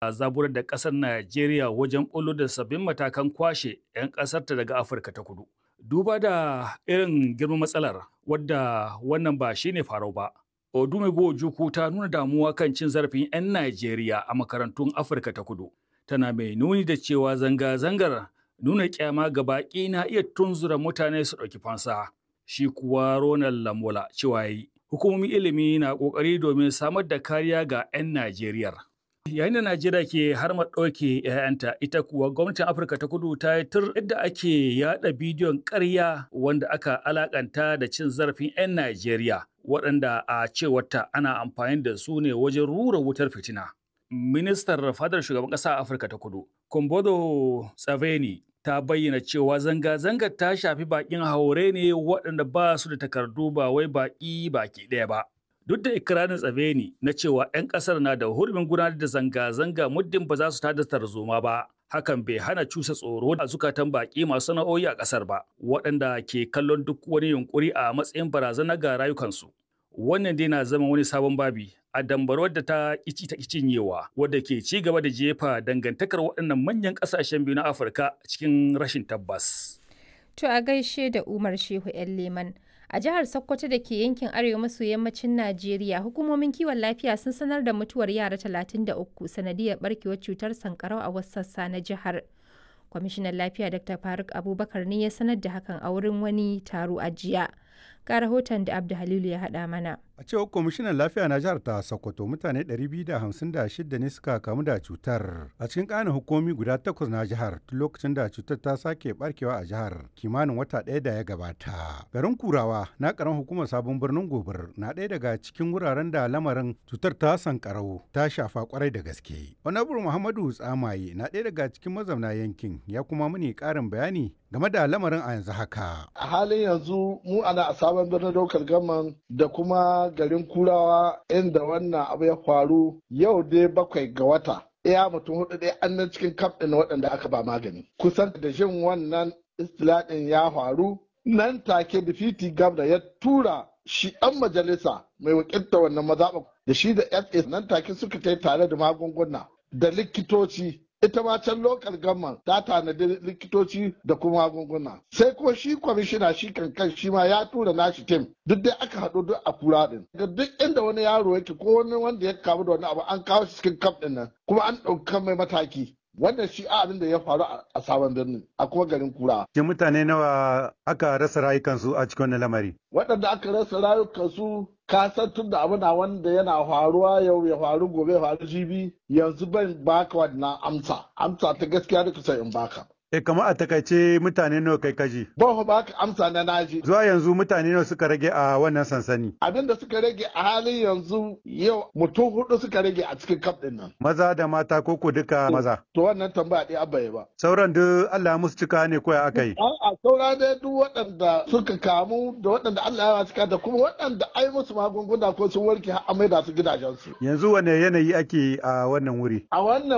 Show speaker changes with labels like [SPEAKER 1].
[SPEAKER 1] Zaburar da ƙasar Najeriya wajen ɓullo da sabbin matakan kwashe 'yan ƙasarta daga Afirka ta Kudu. Duba da irin girman matsalar wadda wannan ba shi ne farau ba. Odumegwu Ojukwu ta nuna damuwa kan cin zarafin 'yan Najeriya a makarantun Afirka ta Kudu. Tana mai nuni da cewa zanga-zangar nuna kyama ga baƙi na iya tunzura mutane su ɗauki fansa. Shi kuwa Ronald Lamola cewa yi hukumomin ilimi na ƙoƙari domin samar da kariya ga 'yan Najeriya. Yayin da Najeriya ke harmar ɗauke 'ya'yanta, ita kuwa gwamnatin Afirka ta Kudu ta yi tur yadda ake yaɗa bidiyon ƙarya wanda aka alakanta da cin zarafin 'yan Najeriya, waɗanda a cewarta ana amfani da su ne wajen rura wutar fitina. Ministar fadar shugaban ƙasa a Afirka ta Kudu, Kumbodo Tsaveni, ta bayyana cewa zanga-zangar ta shafi baƙin haure ne waɗanda ba su da takardu, ba wai baƙi baki ɗaya ba. Duk da ikirarin Tsaveni na cewa 'yan ƙasar na da hurumin gudanar da zanga-zanga muddin ba za su tada tarzoma ba, hakan bai hana cusa tsoro a zukatan baƙi masu sana'o'i a ƙasar ba, waɗanda ke kallon duk wani yunƙuri a matsayin barazana ga rayukansu. Wannan dai na zama wani sabon babi a dambarwar da ta ƙici ta cinyewa, wadda ke ci gaba da jefa dangantakar waɗannan manyan ƙasashen biyu na Afirka cikin rashin tabbas.
[SPEAKER 2] To a gaishe da Umar Shehu 'yan Leman. A jihar Sokoto da ke yankin arewa maso yammacin Najeriya, hukumomin kiwon lafiya sun sanar da mutuwar yara 33 sanadiyar barkewar cutar sankarau a wasu sassa na jihar. Kwamishinan lafiya Dr. Faruk Abubakar ne ya sanar da hakan a wurin wani taro a jiya. Ga rahoton da Abdu Halilu ya haɗa mana.
[SPEAKER 3] A cewar kwamishinan lafiya na jihar ta Sokoto, mutane 256 ne suka kamu da cutar a cikin ƙananan hukumi guda takwas na jihar tun lokacin da cutar ta sake barkewa a jihar kimanin wata ɗaya da ya gabata. Garin Kurawa na ƙaramar hukumar Sabon Birnin Gobir na ɗaya daga cikin wuraren da lamarin cutar ta sankarau ta shafa kwarai da gaske. Honorable Muhammadu Tsamaye na ɗaya daga cikin mazauna yankin, ya kuma muni ƙarin bayani game da lamarin a yanzu haka.
[SPEAKER 4] A halin yanzu mu ana a Sabon Birnin Daukar Gaman da kuma garin Kurawa inda wannan abu ya faru, yau dai 7 ga wata. Iya mutum hudu dai an nan cikin kaf ɗin waɗanda aka ba magani. Kusan da jin wannan istilaɗin ya faru nan take difiti gabda ya tura shi ɗan majalisa mai wakilta wannan mazaɓa da shi da FA, nan take suka tai tare da magunguna da likitoci. Ita ma can local government ta tanadi likitoci da kuma magunguna. Sai ko shi kwamishina shi kankan shi ma ya tura nashi tim, duk dai aka haɗu duk a kura din ga duk inda wani yaro yake ko wani wanda ya kamu da wani abu, an kawo shi cikin kaf din nan kuma an ɗauka mai mataki. Wannan shi abin da ya faru a Sabon Birnin a kuma garin Kura.
[SPEAKER 3] Shin mutane nawa aka rasa rayukansu a cikin wannan lamari?
[SPEAKER 4] Waɗanda aka rasa rayukansu, ka san tun da abu na wanda yana faruwa yau ya faru gobe ya faru jibi, yanzu ban baka wannan amsa. Amsa ta gaskiya da kusa in baka.
[SPEAKER 3] E, kamar a takaice mutane nawa kai kaji?
[SPEAKER 4] Ban baka amsa na naji.
[SPEAKER 3] Zuwa yanzu mutane nawa suka rage a wannan sansani?
[SPEAKER 4] Abin da suka rage a halin yanzu, yau mutum hudu suka rage a cikin kaf din nan.
[SPEAKER 3] Maza da mata ko ko duka maza?
[SPEAKER 4] To wannan tambaya ɗaya abba ba.
[SPEAKER 3] Sauran duk Allah musu cika ne ko ya aka yi?
[SPEAKER 4] A'a, saura dai duk waɗanda suka kamu da waɗanda Allah ya cika da kuma waɗanda ai musu magunguna ko sun warke har an maida su gidajensu.
[SPEAKER 3] Yanzu wane yanayi ake a wannan wuri?
[SPEAKER 4] A wannan